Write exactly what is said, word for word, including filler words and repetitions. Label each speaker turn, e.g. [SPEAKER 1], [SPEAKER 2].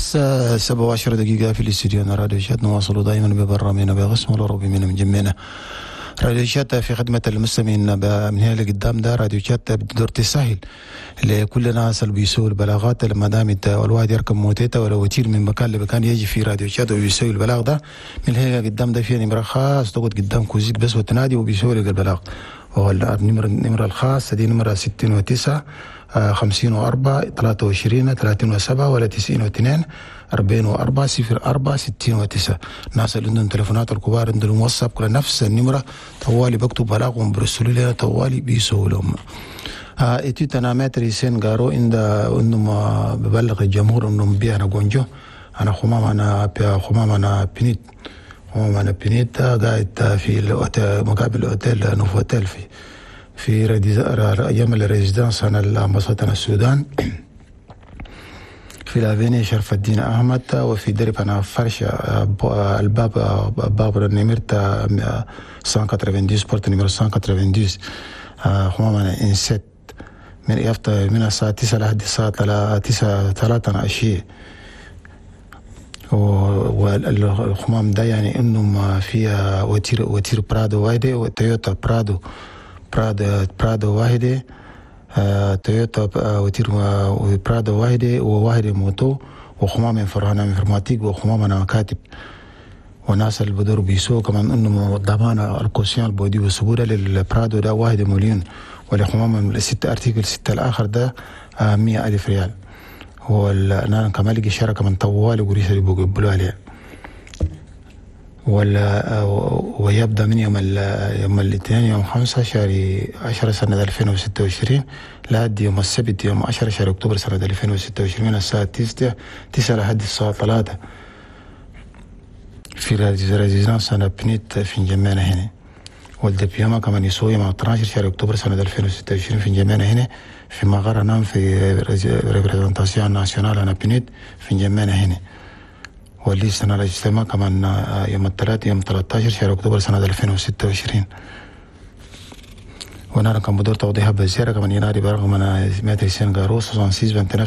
[SPEAKER 1] الساعة سبعة وعشر دقيقة في الاستديو راديو شات. نواصل دائما ببرنامجنا بقسم الأوروبي من مجمعنا راديو شات في خدمة المستمعين. من هنا لقدام ده راديو شات بدور تسهل لكل الناس اللي بيسووا البلاغات. لما دام الواحد يركب موتيتا ولا وتير من مكان لمكان يجي في راديو شات ويسوي البلاغ ده، من هنا قدام ده في نمرة خاص تقعد قدام كوزيك بس وتنادي وبيسوي لك البلاغ. والنمرة النمرة الخاصة دي نمرة ستين وتسعة خمسين وأربعة ثلاثة وعشرين ثلاثين وسبعة ولا تسعين واثنين أربعين وأربعة صفر أربعة ستين وتسعة. الناس اللي عندهم تليفونات الكبار عندهم واتساب كل نفس النمرة طوالي بكتب بلاغ وبرسلوا لنا طوالي بيسووا لهم. étude أنا maître حسين قارو عند إنهم ببلغ الجمهور إنهم بيعنا جونجو أنا خمام أنا خمام أنا بنيت خمام أنا بنيت قاعد في الأوتيل مقابل الأوتيل نوفوتيل في في أيام ال résidence أنا ال ambassade السودان في l'avenue شرف الدين أحمد وفي درب أنا فرشة الباب باب نمرة مية وتسعة وثمانين porte numéro مية وتسعة وثمانين خمام أنا إنسات من يفطر من الساعة تسعة لحد الساعة تسعة ثلاثة عشية. والخمام ده يعني انه فيها voiture voiture برادو واحدة وتويوتا برادو برادو برادو واحدة، آه، تويوتا voiture برادو واحدة وواحدة moto وخمام فرهانة informatique وخمام مكاتب. وناس اللي بدور بيسوق كمان انه ضمان ال caution البودي والسبورة للبرادو ده واحد مليون، ولخمام الست articles ستة الاخر ده آه، مئة ألف ريال. هو انا كمان لقي شركة من طوال قريش اللي بيقبلوا عليها. ولا ويبدأ من يوم يوم الاثنين يوم خمسة شهر عشرة سنة ألفين وستة وعشرين لحد يوم السبت يوم عشرة شهر أكتوبر سنة ألفين وستة وعشرين من الساعة تسعة تسعة لحد الساعة ثلاثة في résidence أنا بنيت في انجمينا هنا. وال dépouillement كمان يسوي مع اثنا عشر شهر أكتوبر سنة ألفين وستة وعشرين في انجمينا هنا في مقر نام في représentation nationale أنا بنيت في انجمينا هنا. وال liste الاجتماع كمان يوم الثلاث يوم ثلاثة عشر شهر أكتوبر سنة ألفين وستة وعشرين. وانا كان بدور توضيح بزيارة كمان ينادي برقم انا مية وتسعين غارو ستة وستين تسعة وعشرين.